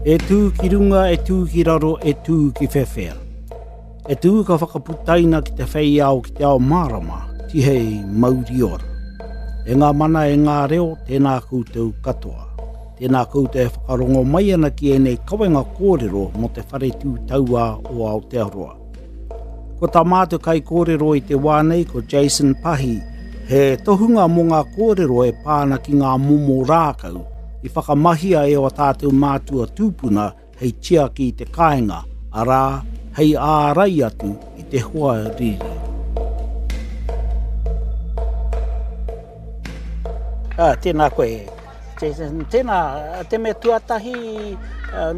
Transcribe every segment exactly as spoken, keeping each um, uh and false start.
E tū ki runga, e tū ki raro, e tū ki whewhea. E tū ka whakaputaina ki te whei ao ki te ao mārama, tihei mauri ora. E ngā mana e ngā reo, tēnā koutou katoa. Tēnā koutou e whakarongo mai ana ki ēnei kawenga kōrero mō te whare tū tauā o Aotearoa. Ko tā mātou kai kōrero i te wā nei ko Jason Pahi, he tohunga mō ngā kōrero e pā ana ki ngā momo rākau i whakamahia e o tātou mātua tūpuna hei tiaki i te kāinga, arā, hei ārai atu i te hoa riri. Ah, tēnā koe, Jason. Tēnā, te mea tuatahi,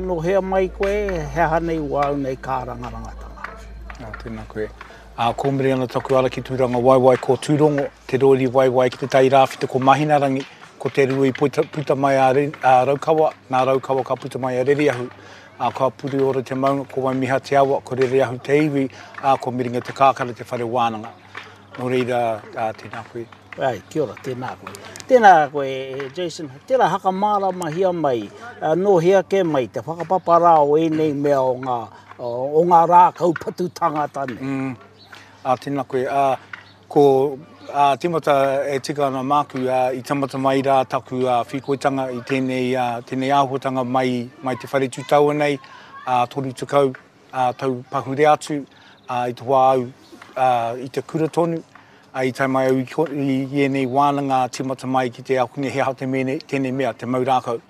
no hea mai koe, he aha nei wāu nei kārangarangatanga. Ah, tēnā koe. Ah, ko mere ana taku ara ki Tūranga Waiwai ko Tūrongo, te rori waiwai ki te tai rāwhiti ko Mahinarangi, ko te rua i puta, puta mai a, a Raukawa, nā Raukawa ka puta mai a Rereahu. A, ka Puriora te maunga, ko Waimiha te awa, ko Rereahu te iwi, a, ko Miringa te Kākara te whare wānanga. Nō reira, a, tēnā koe. Ai, kia ora, tēnā koe. Tēnā koe, Jason, tērā hakamāramahia mai, nō hea ke mai, te whakapapa rā o ēnei mea o ngā, o ngā rākau patu tangata nei. Mm. A, tēnā koe. A, ko a, timata e tika ana māku, a, i tamata mai rā taku a, whikoitanga i tēnei, a, tēnei āhuatanga mai, mai te whare tūtaua nei, a, toru tekau a, tau pahure atu, a, i te wā au a, i te kura tonu, a, i tae mai au i, i, i ēnei wānanga timata mai ki te akunge he aha te mene, tēnei mea, te mau rākau.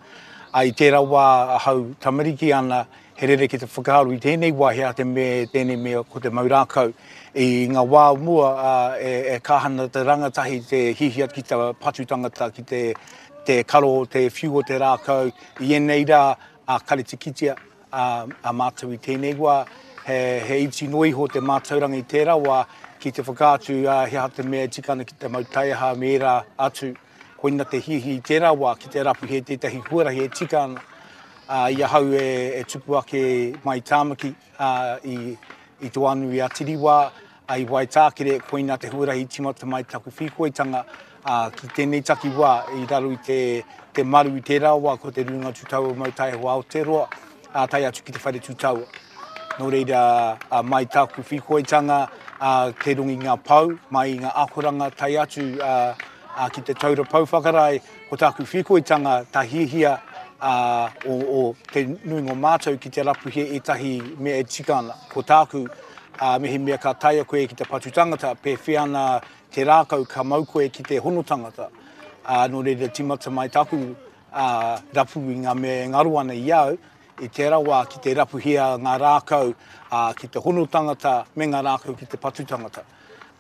A, i tērā wā ahau tamariki ana, he rere ki te whakaaro i tēnei wā, he aha te me, tēnei mea ko te mau rākau. I ngā wā mua a, e, e kahana te rangatahi te hihia ki te patu tangata, ki te, te karo, te whiu o te rākau. I ēnei rā, a kare te kitea a, a mātou i tēnei wā, he, he iti noa iho te mātauranga i tērā wā ki te whakaatu a, he aha te mea e tika ana ki te mau taiaha me ērā atu. Koina te hihi i tērā wā ki te rapu he tētahi huarahi e tika ana. A, i ahau e, e tupu ake mai Tāmaki, a, i, i Te Wānui a Tiriwā, a, i Waitākere, koina te huarahi timata mai taku whikoitanga, a, ki tēnei takiwā i raro i te, te maru i tērā wā ko te Rūnanga Tūtaua Mau Taiaho Aotearoa, a, tae atu ki te whare tūtaua. Nō reira, a, mai taku whikoitanga, a, te rongi ngā pau, mai ngā akoranga tae atu a, a, ki te taura pau whakarae, ko taku whikoitanga ta hihia a, o, o te nuinga o mātou ki te rapuhia ētahi mea e tika ana. Ko tāku, a, mihi mea ka taea koe ki te patu tangata, pēwhea ana te rākau ka mau koe ki te hono tangata. A, nō reira timata mai taku a, rapu i ngā mea e ngaro ana i au, i tērā wā ki te rapuhia ngā rākau a, ki te hono tangata me ngā rākau ki te patu tangata.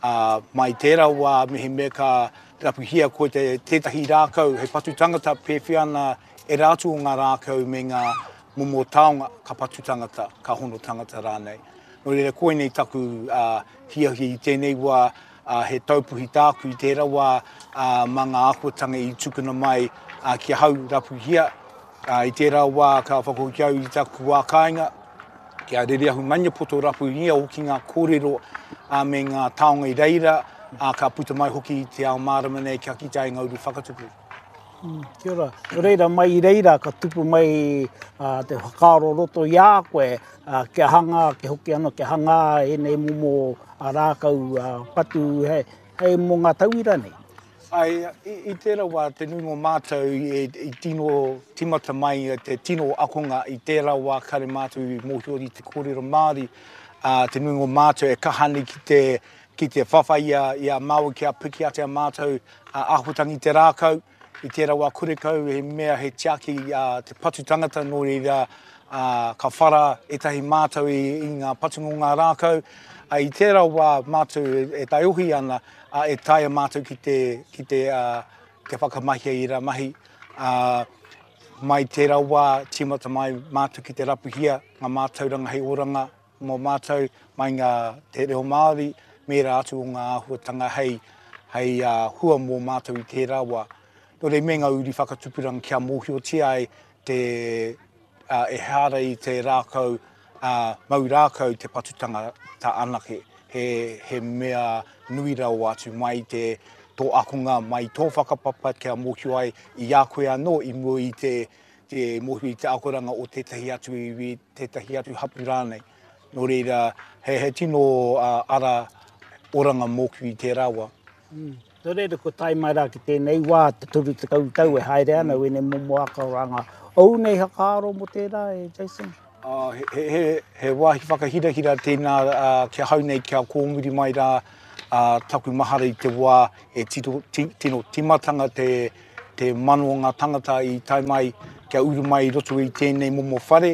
A, mai tērā wā mihi mea ka rapuhia koe te, tētahi rākau hei patu tangata, pēwhea ana e rātu o ngā rākau me ngā momo taonga ka patu tangata, ka hono tangata rānei. Nō reira koinei taku uh, hiahia i tēnei wā, uh, he taupuhi tāku i tērā wā uh, mā ngā āhuatanga i tukuna mai uh, ki ahau rapuhia. Uh, i tērā wā ka whakahoki au i taku wā kāinga, ki a Rereahu Maniapoto rapuhia hoki ngā kōrero uh, me ngā taonga i reira, uh, ka puta mai hoki i te ao mārama nei kia kite ai ngā uru whakatupu. Mm, kia ora. Nō reira, mai i reira ka tupu mai uh, te whakaaro roto i a koe, uh, kia hanga, kia hoki anō, kia hanga ēnei momo a rākau uh, patu hei, hei mō ngā tauira nei. Ai, i, i tērā wā te nuinga o mātou i, i tino timata mai te tino akonga i tērā wā kare mātou i mōhio i te kōrero Māori, uh, te nuinga o mātou e kaha nei ki te, ki te whawhai i a, i a Māui kia piki ate a mātou uh, āhuatanga i te rākau. I tērā wā kurekau he mea he tiaki uh, te patu tangata nō reira uh, ka whara ētahi mātou i, i ngā patunga o ngā rākau. Uh, i tērā wā mātou e, e taiohi ana, uh, e taea mātou ki te, ki te, uh, te whakamahia i rā mahi. Uh, mai tērā wā tīmata mai mātou ki te rapuhia ngā mātauranga hei oranga mō mātou, mai ngā te reo Māori, me rā atu o ngā āhuatanga hei, hei uh, hua mō mātou i tērā wā. Nō reira me ngā uri whakatupuranga kia mōhiotia ai te, uh, e hara i te rākau, uh, mau rākau te patutanga ta anake. He, he mea nui rawa atu mai te tō akonga, mai tō whakapapa kia mōhio ai i a koe anō i mua i te, te mōhio i te akoranga o tētahi atu iwi, tētahi atu hapū rānei. Nō reira, he, he tino uh, ara oranga mōku i tērā wā. Mm. Nō reira, ko tae mai rā ki tēnei wā, te toru tekau tau e haere ana mm. wēnei momo akoranga. Ou nei hakaaro mō tērā e Jason? Uh, he, he, he wāhi whakahirahira tēnā uh, kia hau nei, kia kōmuri mai rā uh, taku mahara i te wā e tito, ti, tino timatanga te, te mano o ngā tangata i tae mai, kia uru mai i roto i tēnei momo whare,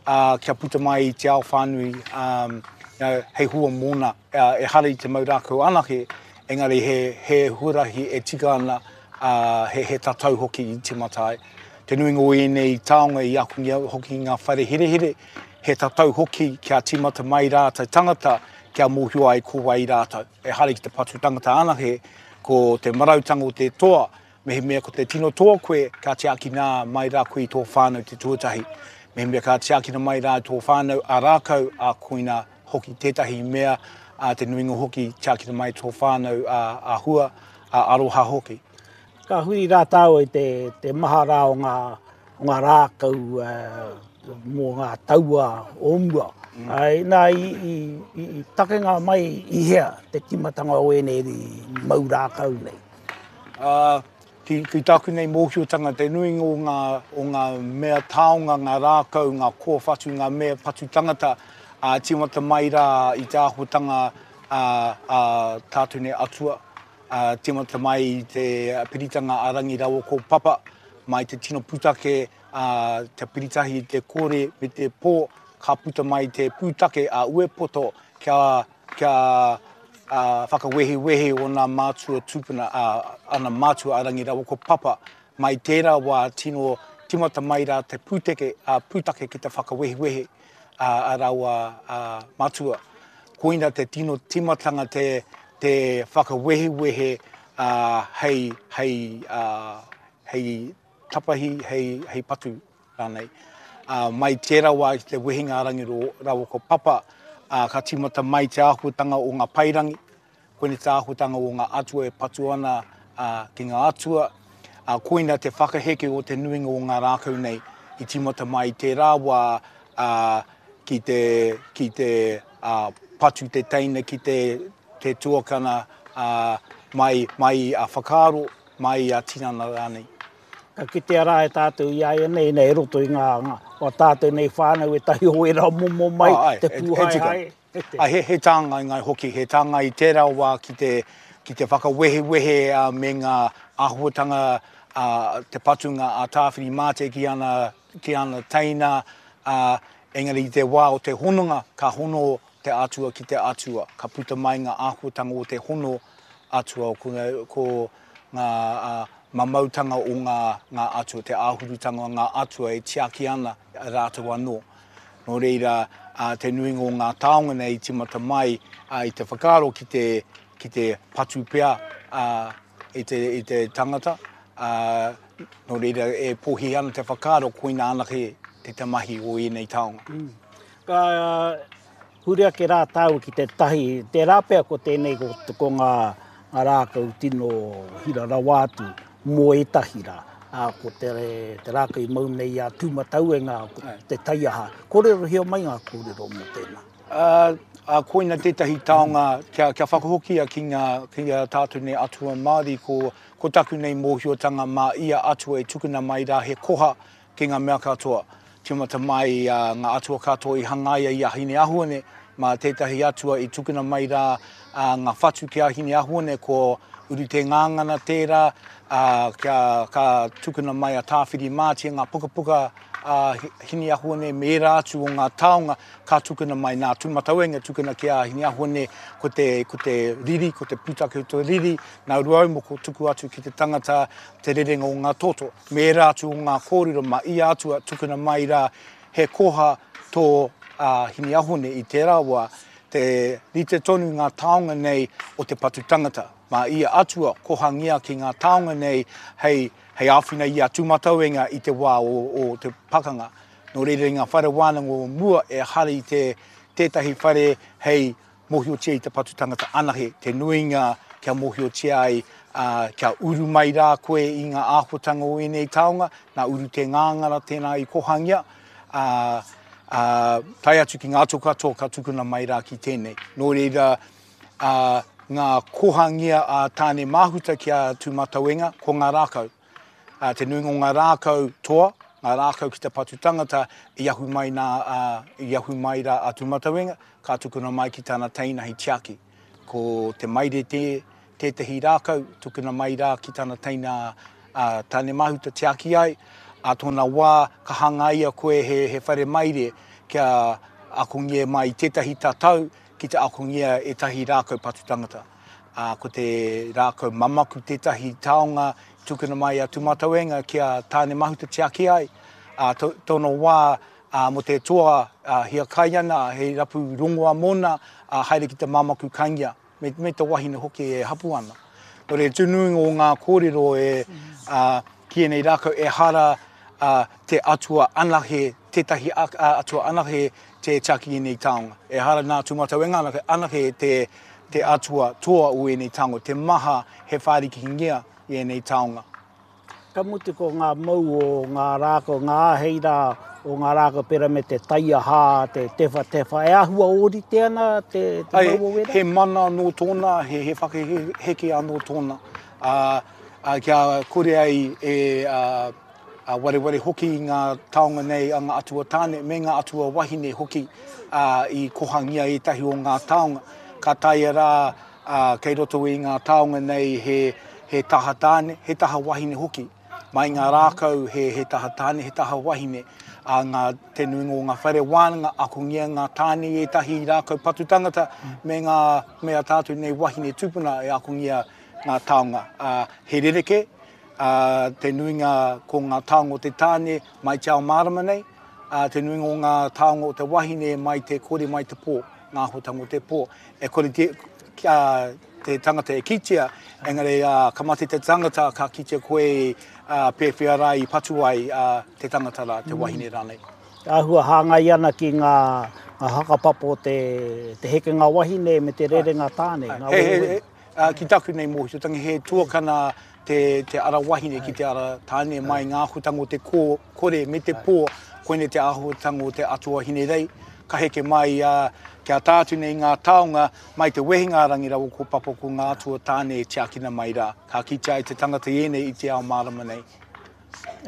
uh, kia puta mai i te ao whānui um, hei hua mōna. Uh, e hara i te mau rākau anake, engari he, he huarahi e tika ana, uh, he, he tatau hoki i timata ai. Te nuinga o ēnei taonga i akungia hoki ngā whare herehere, he tatau hoki kia timata mai rā te tangata, kia mōhio ai ko wai rātou. E hara ki te patu tangata anake, ko te marautanga o te toa, mehemea ko te tino toa koe, ka tiakina mai rā koe i tō whānau te tuatahi. Mehemea ka tiakina mai rā tō whānau a rākau, a koina hoki tētahi mea, a te nuinga hoki tiakina mai tō whānau a, a hua, a aroha hoki. Ka hui rā tāua i te, te maha rā o ngā, o ngā rākau uh, mō ngā taua o mua. Mm. Ai, nā, i, i, i, i takenga mai i hea te timatanga o ēnei mau rākau nei? Uh, ki, ki tāku nei mōhiotanga, te nuinga o ngā, o ngā mea taonga, ngā rākau, ngā kōwhatu, ngā mea patu tangata, uh, timata mai rā i te āhuatanga a, a tātou nei atua, uh, timata mai i te piritanga a Rangi rawa ko Papa, mai te tino pūtake, uh, te piritahi te kore me te pō, ka puta mai te pūtake a Uepoto kia, kia uh, whakawehewehe o nā mātua tūpuna, uh, ana mātua a Rangi rawa ko Papa, mai tērā wā tino timata mai rā te pūteke, uh, pūtake ki te whakawehewehe uh, a rawa uh, matua. Koina te tino timatanga te, te whakawehewehe uh, hei, hei, uh, hei tapahi, hei, hei patu rānei. Uh, mai tērā wā ki te wehenga a Rangi rawa ko Papa, uh, ka timata mai te āhuatanga o ngā pairangi, koina te āhuatanga o ngā atua e patu ana uh, ki ngā atua, uh, koina te whakaheke o te nuinga o ngā rākau nei i timata mai tērā wā uh, ki te, ki te uh, patu te teina, ki te, te tuakana uh, mai, mai a whakaaro, mai a tinana rānei. Ka kitea rā e tātou i aia nei, nei roto i ngā, ngā o tātou nei whānau e tahi o era momo mai, ah, ai, te pūhaehae. Ai, he, he tāngai ngai hoki, he tāngai i tērā wā ki te, ki te whakawehewehe uh, me ngā āhuatanga uh, te patunga a Tāwhirimātea ki ana, ki ana teina, uh, engari i te wā o te hononga, ka hono te atua ki te atua, ka puta mai ngā āhuatanga o te hono atua, ko, ko ngā uh, mamautanga o ngā, ngā atua, te āhurutanga o ngā atua e tiaki ana rātou anō. Nō reira, uh, te nuinga o ngā taonga nei timata mai uh, i te whakaaro ki te, ki te patu pea uh, i, te, i te tangata. Uh, nō reira, e pōhi ana te whakaaro koina anake te te mahi o ēnei taonga. Mm. Ka huri ake rā tāua ki te tahi, tērā pea ko tēnei ko, ko ngā, ngā rākau tino hira rawa atu mō ētahi rā. Uh, ko te, te rākau i mau nei a Tūmatauenga, ko te taiaha. Kōrerohia mai ngā kōrero mō tēnā. Uh, uh, koina tētahi taonga kia, kia whakahokia ki ngā, ki ngā tātou nei atua Māori, ko, ko taku nei mōhiotanga mā ia atua e tukuna mai rā he koha ki ngā mea katoa. Timata mai uh, ngā atua katoa i hangaia i a Hineahuone, mā tētahi atua i tukuna mai rā uh, ngā whatu ki a Hineahuone, ko uru te ngāngana tērā, uh, kia, ka tukuna mai a Tāwhirimātea ngā pukapuka uh, Hineahuone me ērā atu o ngā taonga, ka tukuna mai nā Tūmatauenga tukuna ki a Hineahuone ko te, ko te riri, ko te pūtake o te riri, nā Ruaumoko tuku atu ki te tangata te rerenga o ngā toto. Me ērā atu o ngā kōrero ma ia atua tukuna mai rā he koha tō uh, Hineahuone i tērā wā, te rite tonu ngā taonga nei o te patu tangata. Mā ia atua kohangia ki ngā taonga nei hei, hei āwhina i a Tūmatauenga i te wā o, o te pakanga. Nō reira i ngā whare wānanga o mua e hara i te tētahi whare hei mōhiotia i te patu tangata anahe, te nuinga kia mōhiotia ai Uh, kia uru mai rā koe i ngā āhuatanga o ēnei taonga, nā uru te ngāngara tēnā i kohangia, uh, uh, tae atu ki ngā atua katoa ka tukuna mai rā ki tēnei. Nō reira, uh, ngā kohangia a Tāne Mahuta ki a Tūmatauenga, ko ngā rākau. Uh, te nuinga o ngā rākau toa, ngā rākau ki te patu tangata, i ahu mai, nā, uh, i ahu mai rā a Tūmatauenga, ka tukuna mai ki tāna teina hei tiaki. Ko te maire te, tētehi rākau, tukuna mai rā ki tana teina uh, Tāne Mahuta tiaki ai, a tōna wā ka hangaia koe he, he whare maire kia akongia mai tētahi tatau ki te akongia ētahi rākau patu tangata. Uh, ko te rākau mamaku tētahi taonga tukuna mai a Tūmatauenga kia Tāne Mahuta tiaki ai. Uh, to, tōna wā uh, mo te toa uh, hia kai ana, he rapu rongoa mōna, uh, haere ki te mamaku kaingia. Me, me te wahine hoki e hapu ana. Nō reira, tūnuinga o ngā kōrero e, uh, ki ēnei rākau e hara uh, te atua anahe, tētahi atua anahe te tiaki ēnei taonga. E hara nā Tūmatauenga anahe, anahe te, te atua toa o ēnei taonga, te maha he whārikingia i ēnei taonga. Ka mutu ko ngā mau o ngā rākau, ngā āhei rā o ngā rākau pera me te taiaha, te tewhatewha, e āhua ōrite ana te, te Ai, mau o wera? He mana anō tōna, he, he whakaheke anō tōna. Uh, uh, kia kore ai e uh, uh, wareware hoki i ngā taonga nei a ngā atua tāne me ngā atua wahine hoki uh, i kohangia ētahi o ngā taonga. Ka taea rā uh, kei roto i ngā taonga nei he, he taha tāne, he taha wahine hoki. Mai ngā rākau he, he taha tāne, he taha wahine. A ngā te nuinga o ngā whare wānanga, akongia ngā tāne i ētahi rākau patu tangata, me ngā mea tātou nei wahine tūpuna e akongia ngā taonga. Uh, he rereke, uh, te nuinga ko ngā taonga o te tāne mai te ao mārama nei, uh, te nuinga o ngā taonga o te wahine mai te kore mai te pō, ngā āhuatanga o te pō. E kore te, kia, te tangata e kitea, engari uh, ka mate te tangata ka kitea koe uh, pēwhea rā i patu ai uh, te tangata rā, te wahine rānei. Āhua hāngai ana ki ngā, ngā hakapapa o te, te hekenga wahine me te rerenga tāne. Ngā He, he, wehewehe. he, uh, ki taku nei mōhiotanga, he tuakana te, te ara wahine ki te ara tāne mai ngā āhuatanga o te kō, kore me te pō, koinei te āhuatanga o te atua Hinerei. Ka heke mai uh, kia tātu nei ngā taonga mai te wehenga rangi rawa ko papa ko ngā atua tāne e tiakina mai rā. Ka kitea ai te tangata i ēnei i te ao mārama nei.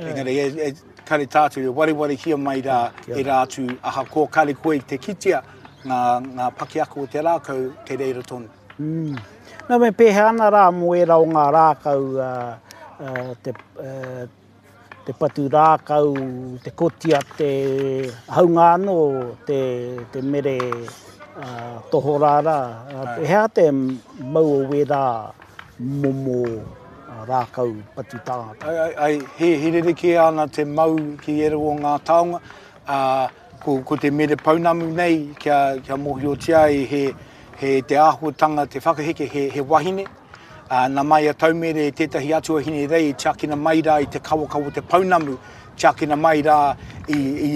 Engari e, e kare tātu e warewarehia mai rā e rā atu ahakoa kare koe i te kitea ngā, ngā pakiaka o te rākau te reira tonu. Mm. Nā me pēhea ana rā mō ērā o ngā rākau uh, uh, te, uh, te patu rākau, te kotia, te haunga anō, te, te mere uh, tohorā rā. Uh, hea te mau o wērā momo uh, rākau patu tāngata? Ai, ai, ai, he, he rerekē ana te mau ki ērā o ngā taonga. Uh, ko, ko te mere pounamu nei kia, kia mōhiotia ai he, he te āhuatanga, te whakaheke, he, he wahine. Uh, nā mai a Taumere tētahi atua Hinerei i tiakina mai rā i te kawakawa o te pounamu, tiakina mai rā i, i,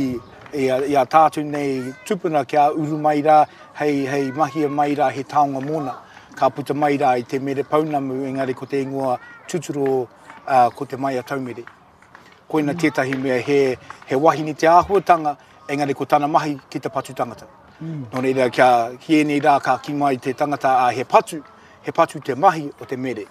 i, a, i a tātou nei tupuna kia uru mai rā, hei, hei mahia mai rā he taonga mōna. Ka puta mai rā i te mere pounamu, engari ko te ingoa tuturo uh, ko te mai a Taumere. Koina tētahi mea he, he wahine te āhuatanga, engari ko tana mahi ki te patu tangata. Mm. Nō reira, kia, ki ēnei rā ka ki mai te tangata a he patu, he patu te mahi o te mere.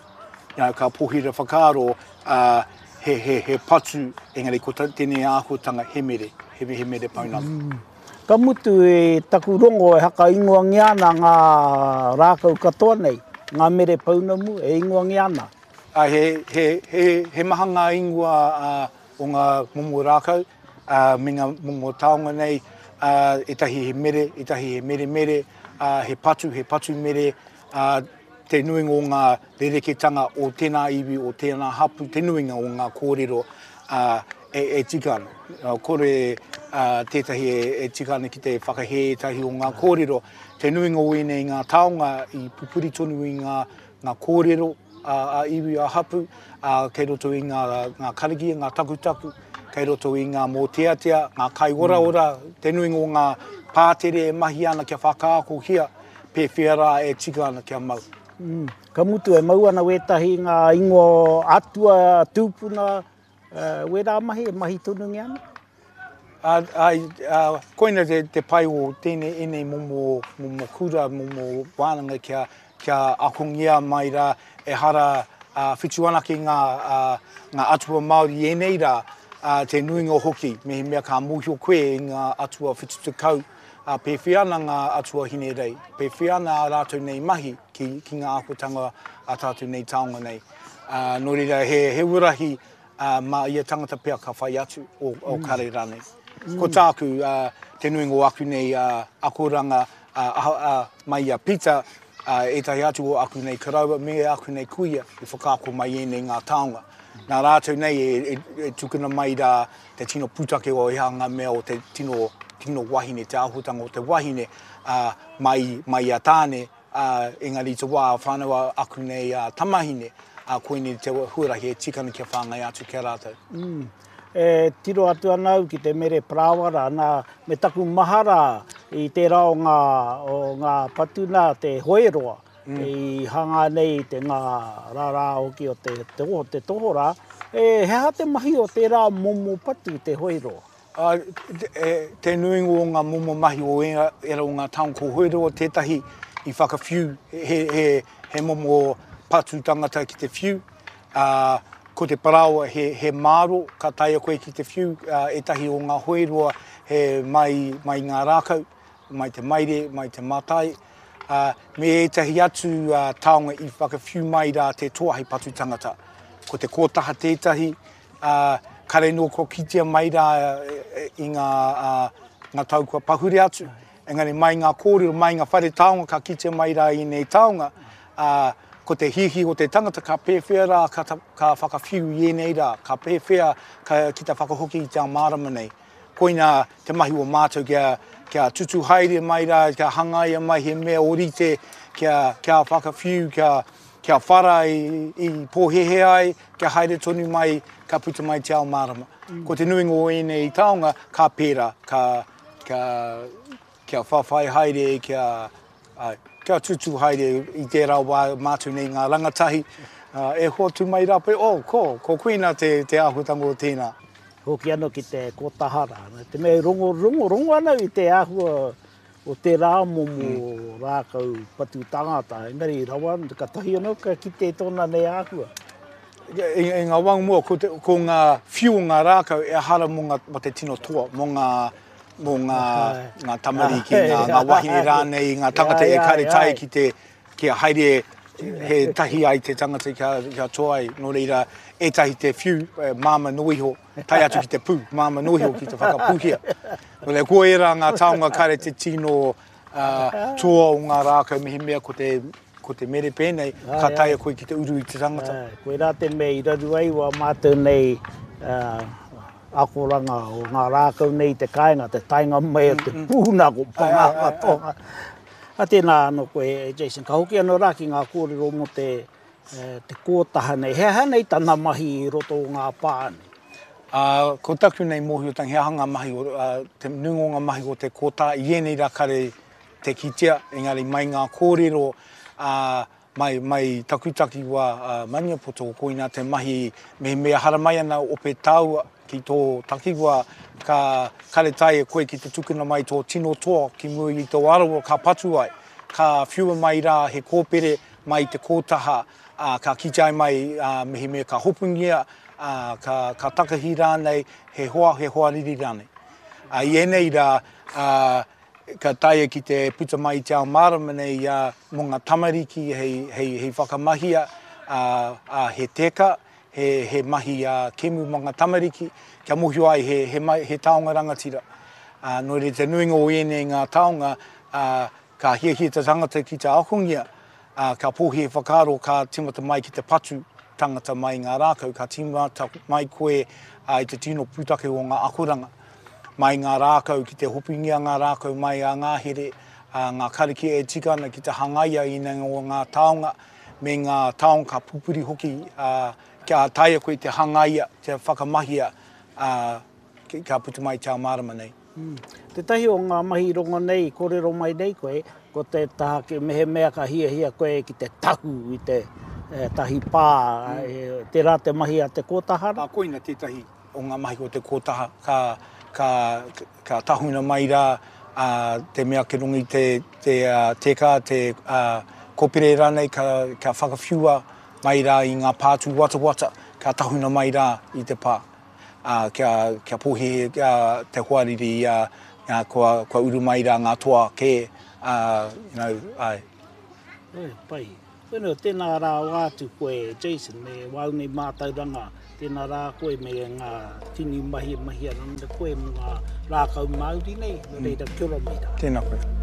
Ia, ka pohira whakaaro uh, he, he, he patu, engari ko tēnei āhuatanga he mere, he, he mere pounamu. Mm. Ka mutu e taku rongo e haka ingoangia ana ngā rākau katoa nei, ngā mere pounamu e ingoangia ana. Uh, he, he, he, he maha ngā ingoa uh, o ngā momo rākau, uh, me ngā momo taonga nei, uh, ētahi he mere, ētahi he mere mere, uh, he patu, he patu mere, uh, te nuinga o ngā rereketanga o tēnā iwi, o tēnā hapu, te nuinga o ngā kōrero uh, e, e tika ana. Uh, kore uh, tētahi e, e tika ana ki te whakahē ētahi o ngā kōrero. Te nuinga o ēnei ngā taonga i pupuri tonu i ngā, ngā kōrero a, a iwi a hapu, a, kei roto i ngā, ngā karakia, ngā takutaku, kei roto i ngā mōteatea, ngā kai oraora, te nuinga o ngā pātere e mahi ana kia whakaakohia, pēwhea rā e tika ana kia mau. Mm. Ka mutu e mau ana wētahi ngā ingoa atua tūpuna, uh, wērā mahi, e mahi tonu nge ana? A, a, a, koina te, te pai o tēnei enei momo, momo kura, momo wānanga kia, kia akongia mai rā, e hara uh, whitu anake ngā, uh, ngā atua Māori i ēnei rā, uh, te nuinga hoki, mehemea ka mōhio koe i ngā atua whitu tekau, uh, pēwhea ana ngā atua hinerei, pēwhea ana a rātou nei mahi ki, ki ngā āhuatanga a tātou nei taonga nei. Uh, nō reira, he, he urahi uh, mā ia tangata pea ka whai atu o, o mm. kare rānei. Mm. Ko tāku, uh, te nuinga o aku nei uh, akoranga uh, uh, mai a Peter, uh, ētahi atu o aku nei karaua me aku nei kuia i whakaako mai ēnei ngā taonga. Nā rātou nei e, e, e tukuna mai rā te tino pūtake o ia ngā mea o te tino, tino wahine, te āhuatanga o te wahine uh, mai, mai a tāne, uh, engari te wā whānau aku nei uh, tamahine, uh, koinei te huarahi e tikana kia whāngai atu kia rātou. Mm. E tiro atu ana au ki te mere parāwara, nā, me taku mahara i tērā o ngā, o ngā patuna te hoeroa, mm. i hanga nei te ngā rārā hoki o te, te, o te tohorā. E, he aha te mahi o tērā momo patu te hoeroa? Uh, te, te nuinga o ngā momo mahi o era, era o ngā taonga ko hoeroa tētahi i whakawhiu, he, he, he momo patu tangata ki te whiu. Uh, ko te paraoa he, he māro, ka taea koe ki te whiu, uh, ētahi o ngā hoeroa he mai, mai ngā rākau, mai te maire, mai te mātai, uh, me ētahi atu uh, taonga i whakawhiu mai rā te toa hei patu tangata. Ko te kōtaha tētahi, uh, kare nō ko kitea mai rā i ngā, uh, ngā tau kua pahure atu. Engari mai ngā kōrero, mai ngā whare taonga ka kitea mai rā i nei taonga, uh, ko te hihi o te tangata ka pēwhea rā ka, ka whakawhiu i ēnei rā, ka pēwhea ka, ki te whakahoki i te ao mārama nei. Koina te mahi o mātou kia, kia tutu haere mai rā, kia hangaia mai he mea orite, kia, kia whakawhiu, kia, kia whara i, i pōhehe ai, kia haere tonu mai, ka puta mai te ao mārama. Mm. Ko te nuinga o ēnei taonga, ka pērā, ka, ka, kia whawhai haere, kia, ai, kia tutu haere i tērā wā mātou nei ngā rangatahi, uh, e hoatu mai rā pe, oh, ko, ko koina te, te āhuatanga o tēnā. Hoki anō ki te kōtaha rā. Te mea rongo, rongo, rongo ana i te āhua o tērā momo mm. rākau patu tangata. Engari rawa, ka tahi anō ka kite tōna nei āhua. I, i ngā wā mua, ko, te, ko ngā whiu o ngā rākau e hara mō ngā, mō te tino toa, mō ngā, mō ngā, ngā tamariki, ngā, ngā wahine rānei, ngā tangata e karetai ki te, kia haere he tahi ai te tangata kia, kia toa ai. Nō reira, ētahi te whiu, māma no iho, tae atu ki te pū, māma no iho ki te whakapūhia. Nō reira, ko ērā ngā taonga kare te tino uh, toa o ngā rākau mehemea ko te, ko te mere pēnei, ka taea koe ki te uru i te tangata. Koirā te mea i raru ai wā mātou nei uh, akoranga o ngā rākau nei te kāinga, te taenga mai o te pūna ko pangā katoa. A tēnā anō koe, Jason, ka hoki anō rā ki ngā kōrero mō te, te kōtaha nei. He aha nei tana mahi i roto o ngā pā nei? Uh, ko taku nei mōhiotanga, he aha ngā mahi, uh, te nuinga o ngā mahi o te kōtaha, i ēnei rā kare te kitea, engari mai ngā kōrero, uh, mai, mai taku takiwā uh, Maniapoto, koina te mahi mehemea haramai ana ope taua ki tō takiwā, ka karetai e koe ki te tukuna mai tō tino toa ki mua i tō arawa ka patu ai, ka whiua mai rā he kōpere mai te kōtaha, uh, ka kitea mai uh, mehemea ka hopungia, uh, ka, ka takahi rānei, he hoa, he hoariri rānei. Uh, I ēnei rā, uh, ka taea ki te puta mai i te ao mārama nei uh, mō ngā tamariki hei, hei, hei whakamahia uh, uh, he teka, he, he mahi uh, kemu mō ngā tamariki, kia mōhio ai he, he, mai, he taonga rangatira. Uh, nō reira te nuinga o ēnei ngā taonga, uh, ka hiahia te tangata ki te akongia, uh, ka pōhi e whakaaro ka timata mai ki te patu tangata mai ngā rākau, ka timata mai koe uh, i te tino pūtake o ngā akoranga. Mai ngā rākau, ki te hopingia ngā rākau mai a ngā here, uh, ngā karakia e tika ana ki te hangaia i ngā o ngā taonga, me ngā taonga ka pupuri hoki, uh, kia taea koe te hangaia, te whakamahia, uh, ka puta mai te ao mārama nei. Mm. Tētahi o ngā mahi rongo nei, kōrero mai nei koe, ko te taha ki mehemea ka hiahia koe ki te tahu i te eh, tahi pā, mm. e, tērā te mahi a te kōtaha? A, koina tētahi o ngā mahi o te kōtaha, ka, ka, ka tahuna mai rā a, te mea ke rongi te, te uh, teka, te uh, kopere rānei, ka, ka whakawhiua mai rā i ngā pātū watawata, ka tahuna mai rā i te pā. Uh, kia, kia pōhi uh, te hoariri uh, uh, kua, kua uru mai rā ngā toa kē, uh, you know, ai. E, pai. Wena, tēnā rā o atu koe, Jason, me wāu nei mātauranga, tēnā rā koe me ngā tini mahi mahi ana koe mō ngā rākau Māori nei, nō reira, kia ora mai rā. Tēnā koe.